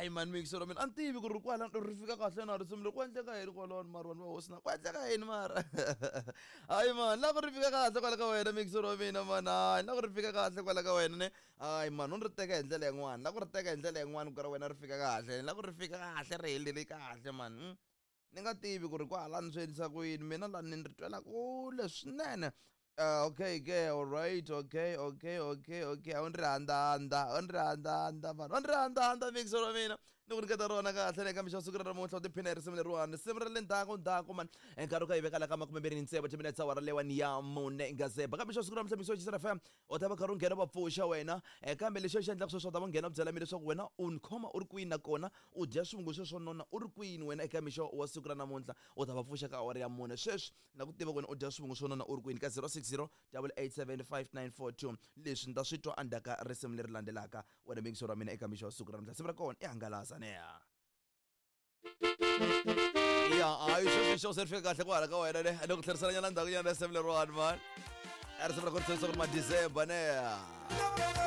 Hayi mani, mixero mina a ni tivi ku ri kwala ri fika kahle na risimu leri. Ku endleka yini kwalano mara, vanhu va hosi na ku endleka yini mara? Hayi mani, la ku ri fika kahle kwala ka wena, mixero wa mina mani. Hayi, la ku ri fika kahle kwala ka wena ne. Hayi mani, u ni ri teka hi ndlela yin'wana, la ku ri teka hi ndlela yin'wana ku ra wena ri fika kahle, la ku ri fika kahle, ri helele kahle mani. Ni nga tivi ku ri kwahalani swi endlisa ku yini, mina lani ni ri twela kule swinene. Okay ke, alright, okay. A wu ni ri handahanda, a wu ni ri handahanda mani, wa ni ri handahanda, mixero wa mina. Ni ku nyiketa rona kahle ne kambe xa siku ra namuntlha, u tiphina hi risimu leriwani, risimu ra le ndzhaku ndzhaku mani. Nkarhi u ka yi veka la ka 26 timinetse awara leyiwani ya 4 ngazeba. Kambe xa siku ra namuntlha, mixo xisana FM, u ta va karhi u nghena va pfuxa wena. Kambe lexi xi endlaka sweswo, u ta va nghena u byela mina leswaku wena u ni khoma u ri kwini, nakona u dya swivungu sweswo nona u ri kwini wena. Eka mixo wa siku ra namuntlha u ta va pfuxa ka awara ya 4. Sweswi na ku tiva ku wena u dya swivungu swo nona u ri kwini ka 060 887 5942. Leswi ni ta swi twa endzhaku ka risimu leri landzelaka, wena mingisoro wa mina. Eka mixo wa siku ra namuntlha, siku ra kona i hangalasa neya ya. Hayi, sweswi xo se ri fika kahle kwala ka wena ne. Ni ku tlherisela nyana ndzhaku nyana risimu leriwani mani, risimu ra ku ri ku ri ma December neya.